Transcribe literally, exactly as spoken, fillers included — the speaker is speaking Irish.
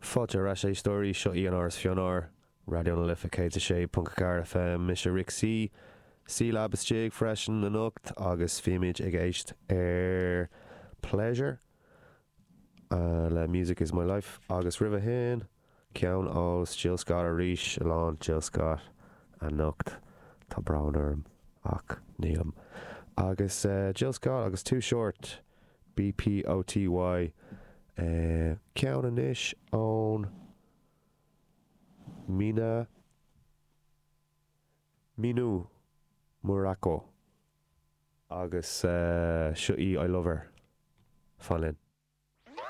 Fáilte ar ais éisteoirí seo í an Áras Fionár, Raidió na Life céad a sé ponc ceathair FM mise Rick C. C-Lab istigh freisin anocht agus bhímid ag éist ar Pleasure uh, le Music is My Life agus roimhe sin ceann ó Jill Scott arís lán Jill Scott anocht tá brón orm ach nílim. Agus uh, Jill Scott agus Too Short BPOTY uh, ceann anois ón Mina Minu Muraco agus uh, seo í I Love Her. Fan linn.